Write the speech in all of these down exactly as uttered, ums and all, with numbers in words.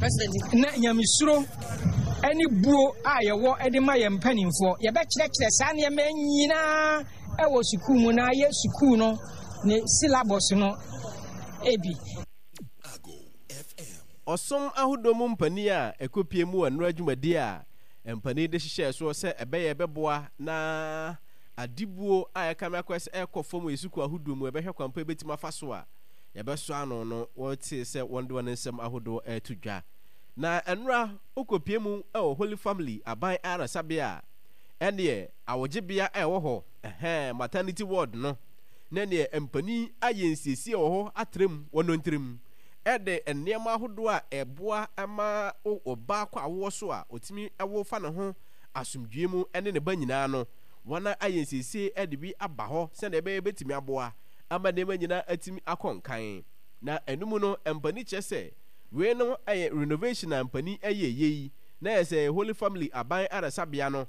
Na nyamesuro ne buo a yɛwɔ de ma yɛn mpanimfoɔ, yɛbɛkyerɛkyerɛ saa nneɛma nyinaa wɔ sukuu mu na ayɛ sukuu no ne syllabus no bi. Ɔsom ahodoɔ mu mpanin a ɛkɔpue mu wɔ nnora dwumadie a mpanin de hyehyɛɛ soɔ sɛ ɛbɛyɛ ɛbɛboa na adibuo a ɛkame akɔyɛ sɛ ɛrekɔ fam wɔ yɛn sukuu ahodoɔ mu ɛbɛhwɛ kwan pa ɛbɛtumi afa so a yɛbɛsɔ ano no wɔtee sɛ wɔde wɔn nsɛm ahodoɔ reto dwa. Na nnora wokɔpue mu wɔ Holy Family aban ayaresabea a ɛneɛ awogyebea a ɛwɔ hɔ ɛhɛn maternity ward no na neɛ mpanin ayɛ nsiesie wɔ hɔ atra mu wɔ nontirim de nneɛma ahodoɔ a ɛboa ma ɔbaa kɔ awoɔ so a ɔtumi wo fa ne ho asomdwoeɛ mu ne ne ba nyinaa no, wɔayɛ nsiesie de bi aba hɔ sɛdeɛ ɛbɛyɛ ɛbɛtumi aboa ama nneɛma nyinaa atumi akɔ nkan. Na ɛno mu no, mpanin kyerɛ sɛ wei no yɛ renovation a mpanin yɛeɛ yi, na ɛyɛ sɛ Holy Family aban ayaresabea no,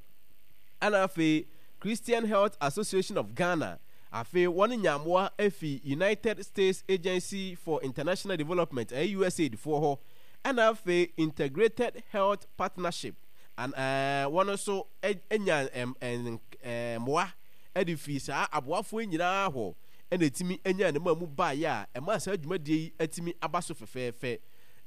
ɛna afei Christian Health Association of Ghana, afei wɔn nyaa mmoa fi United States Agency for International Development, ɛyɛ USAID foɔ hɔ, ɛna afei Integrated Health Partnership, an ɛɛ wɔn nso nya mmoa de firi saa aboafoɔ yi nyinaa hɔ ɛna ɛtumi nyaa ne mmamu baeɛ a ɛmaa saa dwumadie yi atumi aba so fɛfɛɛfɛ.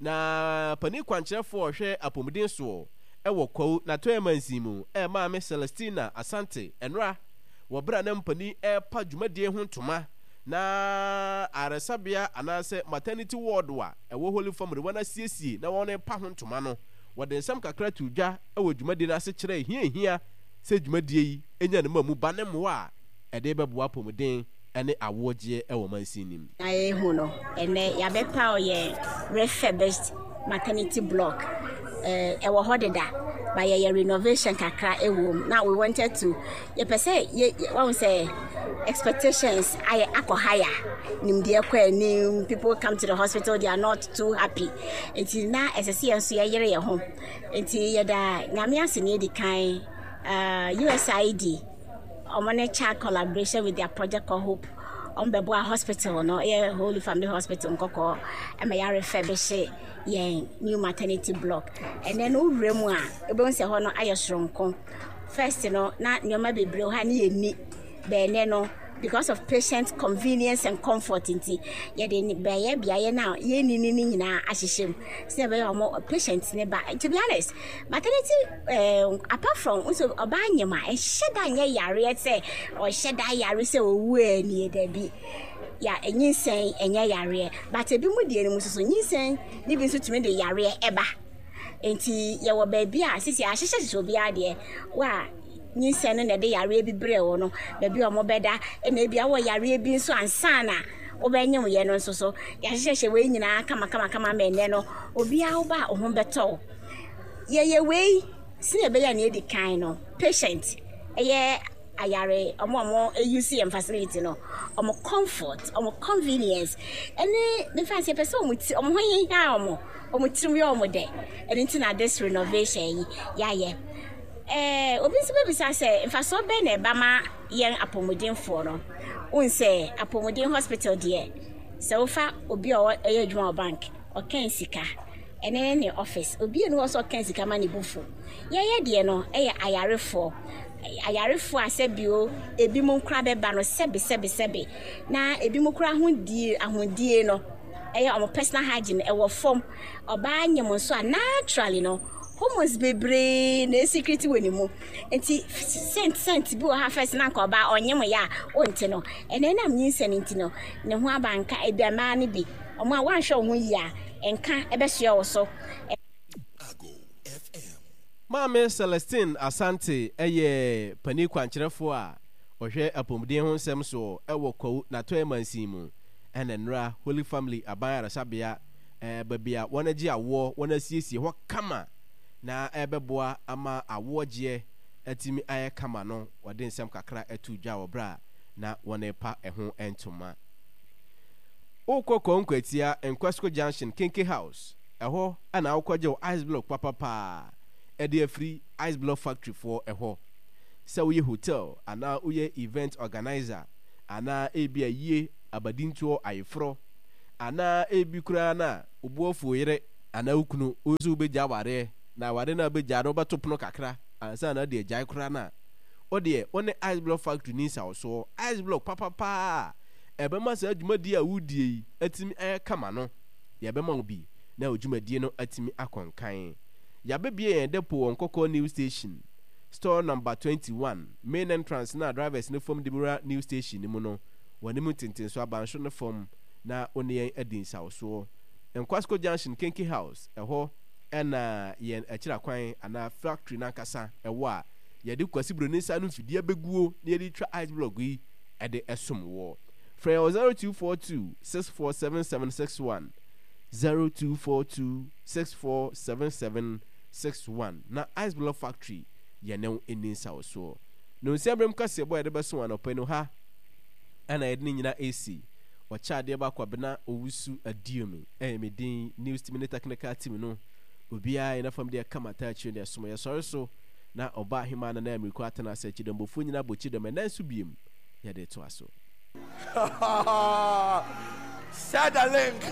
Na panin kwankyerɛfoɔ a ɔhwɛ apɔmuden soɔ wɔ Kwawu n'atɔeɛ mansin mu, Maame Celestina Asante Ɛnora, wɔ berɛ a na mpanin repa dwumadie ho ntoma na ayaresabea anaasɛ maternity ward a ɛwɔ Holy Family wɔn asiesie na wɔrepa ho ntoma no, wɔde nsɛm kakra too dwa wɔ dwumadie no ase kyerɛɛ hia ɛhia sɛ dwumadie yi nya ne mmamu ba ne mmoa a ɛde bɛboa apɔmuden ne awoɔ gyeɛ wɔ mansin no mu. Na yɛhu no, ɛnnɛ yɛabɛpaw yɛn refurbished maternity block. Eh, ɛwɔ hɔ deda, but yɛyɛ renovation kakra ɛwɔ mu. Na we wanted to, yɛpɛ sɛ yɛ, wɔn sɛ expectations ayɛ akɔ higher, nimdeɛ kɔ anim, people come to the hospital, they are not too happy. Nti na ɛsɛ sɛ yɛn nso yɛyere yɛn ho. Nti yɛda Nyame ase na yɛdi kan, uh, U S I D, wɔn ne child collaboration with their project called Hope. Wɔn bɛboa hospital no, ɛyɛ Holy Family Hospital Nkɔkɔɔ, ɛma yɛ refurbish yɛn new maternity block. Ɛnɛ no wowura mu a, wobɛhu sɛ hɔ no ayɛ soronko. First no, na nneɛma bebree wɔ hɔ a ne yɛnni. Bɛɛnɛ no, because of patient convenience and comfort nti, yɛde beaeɛ beaeɛ no a yɛnni no no nyinaa ahyehyɛ mu. Sɛ ɛbɛyɛ wɔn patient ne ba. To be honest, maternity eh, apart from nso ɔbaa nyem a, ɛnhyɛ da nyɛ yareɛ sɛ ɔhyɛ da yare sɛ owu a nie dabi. Ya nyinsɛn ɛnyɛ yareɛ, but ebi mu deɛ no mu nso so nyinsɛn ne bi nso tumi de yareɛ ɛba. Nti yɛwɔ baabi a sisi ahyehyɛ hyehyɛ obiara deɛ wa nyinsɛn no na ɛde yareɛ bi brɛ wɔ no, baabi a wɔbɛda, ɛna ebi awɔ yareɛ bi nso ansa na wobɛnyem yɛ no nso so yɛahyehyɛhyɛ wei nyinaa kama kama kama ma ɛnɛ no obiara woba a wo ho bɛtɔ wo. Yɛyɛ wei sɛnea ɛbɛyɛ a nea edi kan no, patient ɛyɛ ayare ɔmo a ɔmo use yɛn facility no, ɔmo comfort, ɔmo convenience, ɛne mefa sɛ yɛpɛ sɛ ɔmo ti ɔmo ho hia ɔmo ɔmo tirim yɛ ɔmo dɛ. Ɛno nti na this renovation yi yɛayɛ. Ɛɛ obi nso bɛbisa sɛ mfasoɔ bɛn na ɛba ma yɛn apɔmudenfoɔ no? Wohu sɛ apɔmuden hospital deɛ, sɛ wofa obi a ɔyɛ adwuma wɔ bank, ɔkɛn sika, ɛne ne ne office obi enu hɔ sɛ ɔkɛn sika ma ne bo fu. Yɛyɛ deɛ no ɛyɛ ayarefoɔ, ayarefoɔ a sɛbio ebi mu nkora bɛba no sɛbi sɛbi sɛbi na ebi mu kora ahodie ahodie no ɛyɛ ɔmo personal hygiene ɛwɔ fam. Ɔbaa nyem nso a, naturally no hormones bebree na esecrete wɔ ne mu, nti scent scent bi wɔ ha first na nka ɔbaa ɔnyem yɛ a ɔnte no, ɛnɛ nam nyinsɛn nti no ne ho aba nka. Ebi mmaa no bi ɔmo a wɔanhwɛ wɔn ho yie a, nka ɛbɛsoɛ wɔ so. Maame Celestine Asante yɛ panin kwankyerɛfoɔ a ɔhwɛ apɔmuden ho nsɛm soɔ wɔ Kwawu n'atɔeɛ mansin mu. Ɛna nnora Holy Family aban ayaresabea, baabi a wɔagye awoɔ, wɔasiesie hɔ kama na ɛbɛboa ama awoɔ gyeɛ atumi ayɛ kama no, wɔde nsɛm kakra too dwa wɔ berɛ a na wɔrepa ɛho ntoma. Wokɔ Kwawu Nkwatia, Nkwasco Junction, Kenke House, ɛhɔ na wokɔgye wo ice block papapaa de afiri Ice Block Factory foɔ hɔ. Sɛ woyɛ hotel anaa woyɛ event organiser anaa ebia yie abadintoɔ ayeforɔ anaa ebi koraa no a wo bo afu wo yere Anaa wo kunu, wo nso wobɛgya awareɛ, na awareɛ no a wobɛgya no wobɛto pono kakra ansa na wode agyae koraa no a, wo deɛ wo ne Ice Block Factory ni nsawɔsoɔ. Ice Block papapaa a ɛbɛma saa dwumadie a woredie yi atumi ayɛ kama no, yɛbɛma wo bi na wo dwumadie no atumi akɔ nkan. Yɛabɛbue yɛn depot wɔ Nkɔkɔɔ New Station, Store number twenty one, main entrance no a drivers no fam de wura New Station no mu no, w'anim ntentenso abansoro no fam na wo ne yɛn adi nsawɔsoɔ. Nkwasko Junction Kenke House, ɛhɔ na yɛn akyira kwan anaa factory no ankasa wɔ a yɛde Kwasi Broni nsa ano mfidie abɛguo na yɛde retwa ice block yi de som woɔ. Frɛ yɛn wɔ zero two four two six four seven seven six one, zero two four two six four seven seven six one na Ice Block Factory yɛne wo nni nsawosoɔ. Nonsia berɛm kaseɛbɔ a yɛde bɛso wo anɔpa yi no ha na yɛde ne nyina resi. Ɔkyɛ adeɛ ba Kwabena Owusu Aduomi ɛyɛ me din, news team ne technical team no obiara yɛn afam deɛ kama taa akyire deɛ som yɛsɔre so na ɔba ahemaa Nana Amiriko atena ase akyidɔmbɔfoɔ nyina bɔ kyidɔm ɛnɛ nso biem yɛde toa so. Share the link.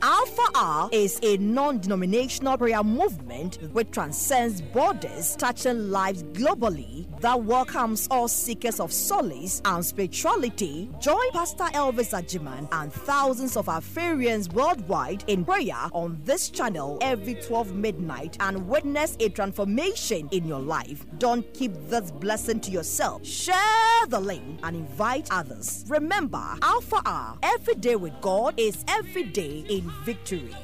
Alpha Hour is a non-denominational prayer movement which transcends borders, touching lives globally, that welcomes all seekers of solace and spirituality. Join Pastor Elvis Ajiman and thousands of Alpharians worldwide in prayer on this channel every twelve midnight and witness a transformation in your life. Don't keep this blessing to yourself. Share the link and invite others. Remember, Alpha Hour, every day with God is every day in victory.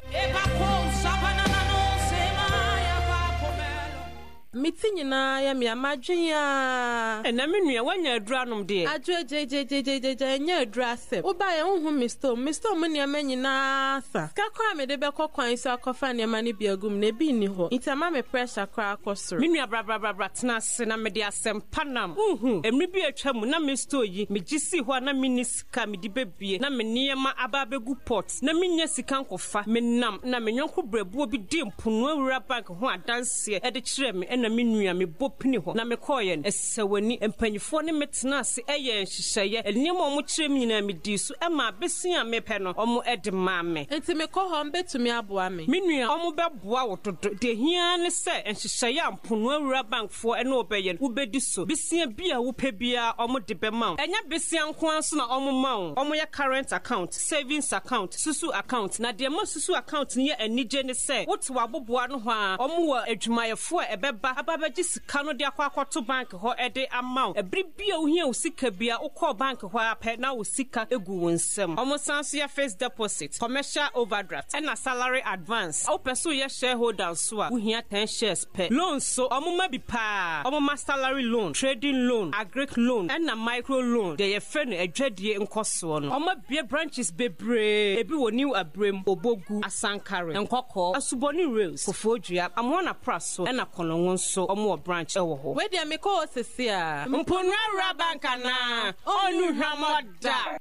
Me ti nyinaa yɛ me amadwen a. Ɛna me nua wanya aduru anom deɛ. Adwo gyegyegyegyegye ɛnyɛ aduru asɛm. Woba yɛ wohu me store me store mu nneɛma nyinaa sa. Sika koraa mede bɛkɔ kwan so akɔfa nneɛma no bi agu mu na ebi nni hɔ. Nti ama me pressure koraa akɔ soro. Me nua brabrabrabra tena ase na mede asɛm pa nam. Wohu mmere bi atwa mu na me store yi megye sii hɔ a na menni sika mede bɛbie na me nneɛma aba abɛgu pot na menya sika nkɔfa. Menam na me nyɔnko brɛboɔ bi di mpono awura bank ho adanseɛ ɛde kyerɛ me ɛna me nua mebɔ pini hɔ na mekɔɔyɛ no ɛsɛ w'ani mpanyinfoɔ ne me tena ase ɛyɛ nhyehyɛeɛ nneɛma a ɔmo kyerɛ me nyinaa medii so ɛma abesi a mepɛ no ɔmo ɛde maa me. Nti mekɔ hɔ mbɛtumi aboa me. Me nua ɔmo bɛboa wo dodo deɛ hia ne sɛ nhyehyɛeɛ a mpono awura bankfoɔ ɛne ɔbɛyɛ no wobɛdi so besia bi a wopɛ biara ɔmo de bɛma wo ɛnyɛ besia nko ara nso na ɔmo ma wo ɔmo yɛ current account, savings account, susu account na deɛ ma susu account no yɛ anigye ne sɛ wote w'aboboa no hɔ a ɔmo wɔ adwumayɛfoɔ a ɛbɛba aba abɛgye sika no de akɔ akɔto bank hɔ ɛde ama wo ɛbere bi a wohia wo sika bi a wokɔɔ bank hɔ a pɛ na wo sika egu wo nsam. Ɔmo san so yɛ fixed deposit, commercial overdraft ɛna salary advance. Wopɛ so yɛ shareholder nso a wohia ten shares pɛ. Loan so ɔmo ma bi paa. Ɔmo ma salary loan, trading loan, agric loan ɛna micro loan deɛ yɛfrɛ no adwadie nkɔsoɔ no. Ɔmo abue branches bebree ebi wɔ New Abrem, Obogu, Asankare, Nkɔkɔɔ, Asubɔni Rails, Koforidua, Amoana Praso ɛna Kɔnɔngo nso ɔmo wɔ branch ɛwɔ hɔ. Wei deɛ mekɔ hɔ sesi a. Mpono awura bank anaa ɔnnu hwammɔ da.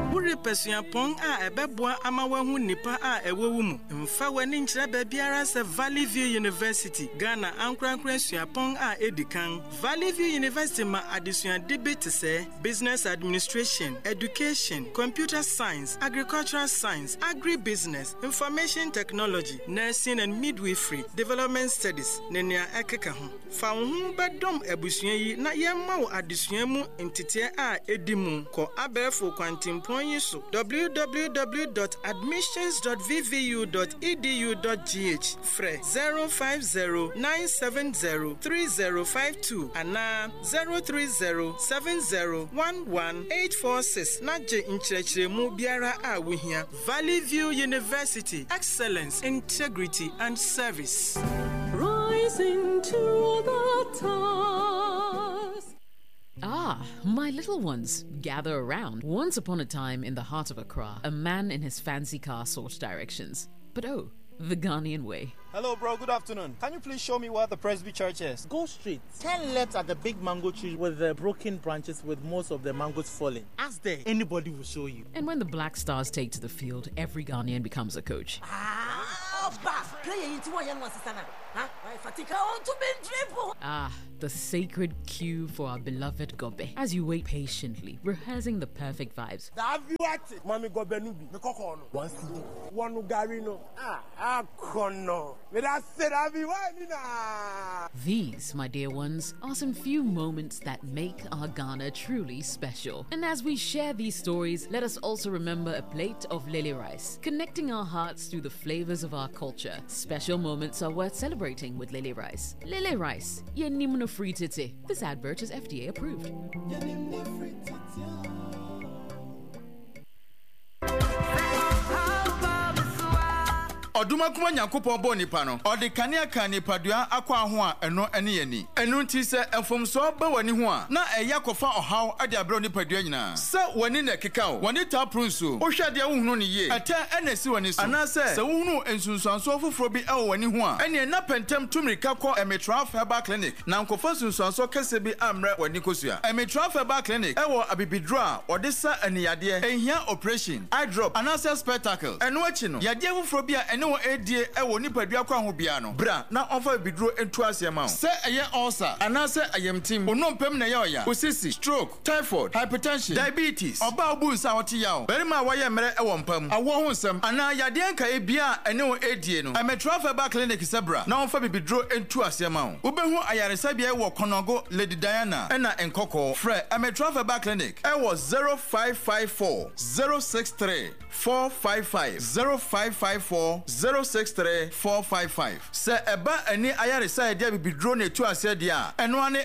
Worepɛ suapɔn a ɛbɛboa ama woahu nnipa a ɛwɔ wo mu. Mfa w'ani nkyerɛ baabiara sɛ Valley View University, Ghana ankorankora suapɔn a edi kan. Valley View University ma adesuade bi te sɛ Business Administration, Education, Computer Science, Agricultural Science, Agribusiness, Information Technology, Nursing and Midwifery, Development Studies, ne nea ɛkeka ho. Fa wo ho bɛdɔm abusua yi na yɛmma wo adesua mu nteteɛ a edi mu. Kɔ abɛɛfo kwantempɔn yi so w w w dot admissions dot v v u dot e d u dot g h, frɛ zero five zero nine seven zero three zero five two anaa zero three zero seven zero one one eight four six na gye nkyerɛkyerɛmu biara a wohia. Valley View University, excellence, integrity and service. Rising to the task. Ah, my little ones, gather around. Once upon a time in the heart of Accra, a man in his fancy car sought directions. But oh, the Ghanaian way. Hello, bro. Good afternoon. Can you please show me where the Presby Church is? Go straight. Turn left at the big mango tree with the broken branches with most of the mangoes falling. Ask there. Anybody will show you. And when the Black Stars take to the field, every Ghanaian becomes a coach. Ah, Ah, the sacred queue for our beloved gɔbɛ. As you wait patiently, rehearsing the perfect vibes. Mami gɔbɛ no bi. Me kɔkɔɔ no. One cedi. One gari no. Ah, akɔnɔ. Me da se dabi wa ni na. These, my dear ones, are some few moments that make our Ghana truly special. And as we share these stories, let us also remember a plate of lele rice, connecting our hearts through the flavors of our culture. Special moments are worth celebrating with lele rice. Lele rice, yenim no free tete. This advert is F D A approved. Ɔdomankoma Nyankopɔn bɔɔ nipa no, ɔde kanea ka nipadua akɔ aho a ɛno ne yɛni. Ɛno nti sɛ mfomsoɔ ba w'ani ho a, na ɛyɛ akɔfa ɔhaw de abrɛ nipadua nyinaa. Sɛ w'ani na ɛkeka wo, w'ani taa poro nsuo, wohwɛ adeɛ wohunu no yie, ɛtɛ ɛna ɛsi w'ani so, anaasɛ sɛ wohunu nsunsuansoɔ foforɔ bi ɛwɔ w'ani ho a, ɛneɛ na pɛntɛm tu mmirika kɔ Emitraf Herbal Clinic na nkɔfa nsunsuansoɔ kɛseɛ bi ammrɛ w'ani kosua. Emitraf Herbal Clinic ɛwɔ abibiduro a wɔde sa aniyadeɛ, ɛnhia operation, eye drop anaasɛ spectacle. Ɛno akyi no, yadeɛ foforɔ bi a ɛne wɔn ɛredie ɛwɔ nipadua kwan ho biara no, bra na ɔmfa bibiduro ntu aseɛ ma wo. Sɛ ɛyɛ ulcer anaasɛ ayamtim, onompem na ɛyɛ ɔya, osisi, stroke, typhoid, hypertension, diabetes, ɔbaa obu nsa a ɔte yaw, barima a wayɛ mmerɛ ɛwɔ mpa mu, awoɔ ho nsɛm anaa yadeɛ nkaeɛ bia a ɛne wɔn ɛredie no, Ɛmetraf Herbal Clinic sɛ bra na ɔmfa bibiduro ntu aseɛ ma wo. Wobɛhu ayaresabea wɔ Kɔnɔgo, Lady Diana ɛna Nkɔkɔɔ. Frɛ Ɛmetraf Herbal Clinic ɛwɔ zero five five four zero six three four five five, zero five five four zero six three four five five. Sɛ ɛba ani ayaresa a yɛde abibiduro na etu aseɛ deɛ a, ɛno ane.